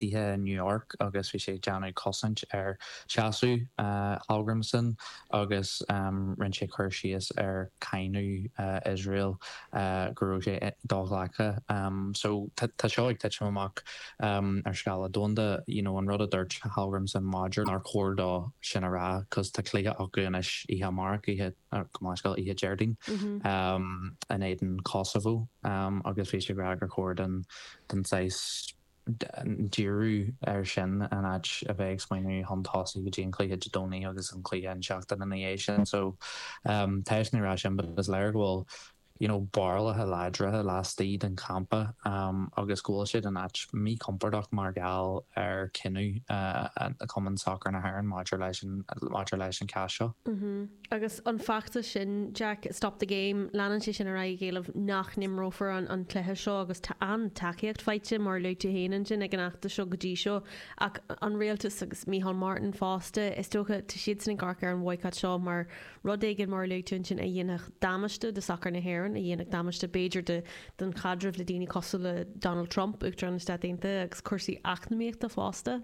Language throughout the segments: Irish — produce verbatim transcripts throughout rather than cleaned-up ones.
i New York agus bhí sé ag déanamh cosaint ar seasamh Hallgrímsson agus rinne sé cur síos ar cáineadh Iosrael go raibh sé do-ghlactha. So tá seo ag titim amach ar scála domhanda you know an rud a dúirt Hallgrímsson maidir nár chóir dó sin a rá cos tá cluiche acu anois oíche amárach oíche go oíche Déardaoin in éadan Kosovo agus bhí sé ag rá gur chóir den den saghas díriú ar sin in áit a bheith ag smaoineamh chun tosaigh go dtí an cluiche Dé Domhnaigh agus an cluiche an seachtain ina dhiaidh sin so um, tá ní rá sin but is léir go bhfuil you know, barúlacha láidre laistigh den champa um, agus go bhfuil siad in áit míchompordach mar gheall ar chinneadh uh, Cumann Sacair na hÉireann maidir leis an maidir leis an cás seo. Mm -hmm. Agus an feachtas sin Jack stop the game leanann sé sin ar aghaidh ag éileamh nach n-imreofar an, an cluiche seo agus tá an tacaíocht faighte mar luaigh tú féin ansin ag an fheachtas seo go dtí seo ach an rialtas agus Micheál Martin fosta is dócha tá siad san ag amharc ar an bhaghcat seo mar rud éigin mar luaigh tú ansin a dhéanfadh damáiste do sacar na hÉireann a dhéanfadh damáiste b'fhéidir de den chaidreamh le daoine cosúil le Donald Trump Uachtarán na Stát Aontaithe agus cúrsaí eacnamaíochta fosta.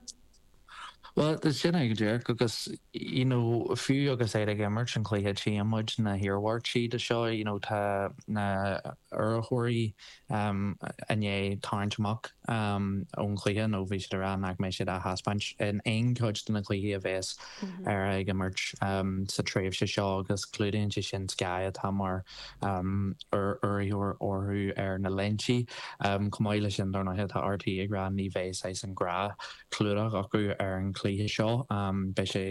Well sin é go díreach agus you know, fiú agus é ag imirt an cluiche tchímid na hiarmhairtí de seo you know, tá na urraitheoirí um, i ndiaidh tarraingt amach um, ón chluiche nó bhí siad ag rá nach mbeidh siad á thaispeáint in aon chuid de na cluichí a bheas mm -hmm. ar ag imirt um, sa tréimhse seo agus clúdaíonn sé sin Sky atá mar um, urraitheoir orthu ar na léintí um, chomh maith leis sin dar ndóigh tá RTÉ ag rá ní bheidh an gnáthchlúdach acu ar an chluiche seo um, beidh sé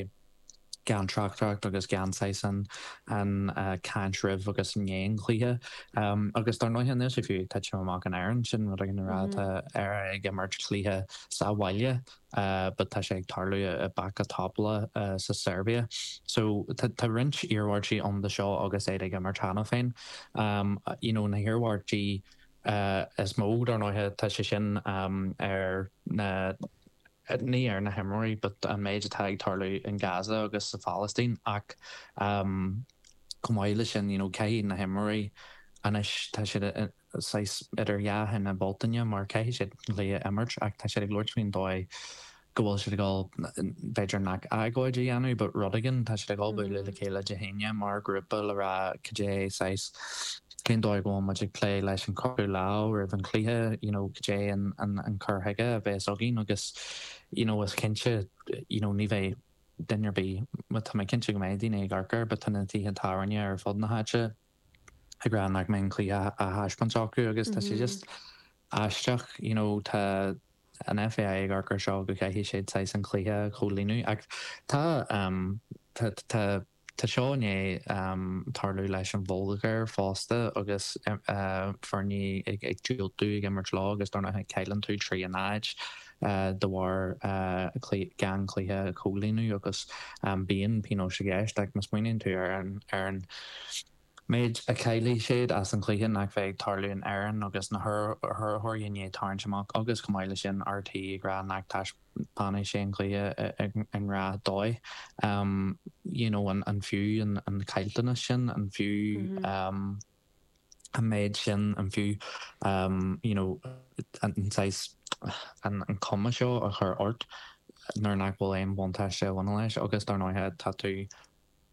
gan tráchtaireacht agus gan an an uh, caint roimh agus i ndiaidh an chluiche um, agus dar ndóigh níl sé fiú ag titim amach in Éirinn sin rud an rá mm -hmm. ar ag imirt cluiche sa bhaile uh, but tá sé ag tarlú i Backa Topola uh, sa Serbia. So tá roinnt iarmhairtí ann de seo agus é ag imirt cheana féin. Um, you know, na hiarmhairtí uh, is mó dar ndóigh tá sé sin um, ar na ní ar na himreoirí, but an méid atá ag tarlú in Gaza agus sa Phalaistín ach um, chomh maith leis sin you know, caithfidh na himreoirí anois tá siad idir dhá thine Bealtaine mar caithfidh siad le imirt ach tá siad ag labhairt faoin dóigh go bhfuil siad ag dul b'fhéidir nach agóid a dhéanamh, but rud éigin tá siad ag dul bualadh le chéile Dé hAoine mar grúpa le rá cad é saghas cén dóigh go bhfuil muid ag plé leis an croitheadh lámh roimh an chluiche you know, cad é an, an, an cur chuige a bheas againn agus you know, is cinnte you know, ní bheidh duine ar bith tá mé cinnte go mbeidh daoine ag amharc air, but tá na tithe tábhairne ar fud na háite ag rá nach mbeidh an cluiche á thaispeáint acu agus tá sé just aisteach you know, tá an FAI ag amharc air seo go gcaithfidh siad saghas an cluiche a chomhlíonadh ach tá um, tá tá Tá seo i ndiaidh um, tarlú leis an Bhulgáir fosta agus uh, foirne ag ag diúltú ag imirt leo agus dar ndóigh cailleann tú trí a náid uh, de bharr uh, gan cluiche a chomhlíonadh agus um, bíonn pionós i gceist ach má smaoiníonn tú ar an ar an méid a chaillfidh siad as an chluiche nach bheidh ag tarlú in Éirinn agus na hurraitheoirí i ndiaidh tarraingt amach agus chomh maith leis sin RTÉ ag rá nach dtaispeánfaidh sé an cluiche i ngnáthdhóigh. Um, you know, an, an fiú an, an caillteanas sin an fiú mm -hmm. um, an méid sin an fiú um, you know, an, an, an cuma seo a chur ort nuair nach bhfuil aon bhuntáiste a bhaineann leis agus dar ndóigh tá tú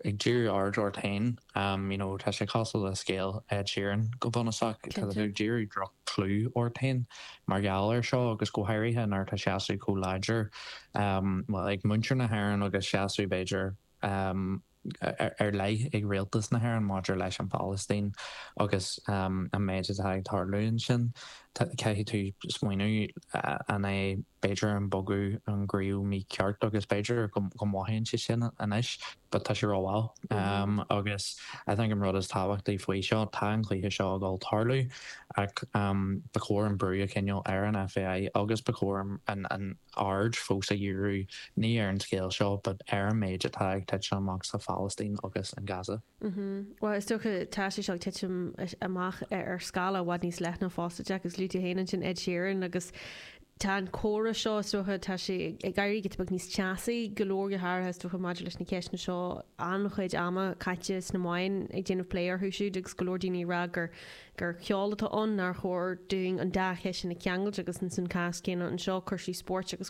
ag díriú aird ort féin um, you know, tá sé cosúil le scéal Ed Sheeran go bunúsach tá tú ag díriú droch-chlú ort féin mar gheall air seo agus go háirithe nuair tá seasamh chomh láidir um, well, ag muintir na hÉireann agus seasamh b'fhéidir um, ar, ar leith ag rialtas na hÉireann maidir leis an Phalaistín agus um, an méid atá ag tarlú ansin caithfidh tú smaoineamh uh, an é b'fhéidir an bogadh an gcroí mícheart agus b'fhéidir go go mothaíonn sé sin anois, but tá sé rómhall. Um, agus I think an rud is tábhachtaí faoi seo tá an cluiche seo ag dul tarlú ach um, ba chóir an brú a choinneáil ar an FAI agus ba chóir an, an aird fós a dhíriú ní ar an scéal seo, but ar an méid atá ag titim amach sa Phalaistín agus in Gaza. Mm Well is dócha tá sé seo ag titim amach ar scála i bhfad níos leithne fosta Jack agus luaigh tú féin ansin Ed Sheeran agus Tá an comhrá seo is dócha tá sé ag éirí giota beag níos teasaí go leor go háirithe is dócha maidir leis na ceisteanna seo an-chuid ama caite sna meáin ag déanamh plé orthu siúd agus go leor daoine ag rá gur gur ceol atá ann nár chóir dúinn an dá cheist sin a cheangailt agus san cás céanna anseo cúrsaí spóirt agus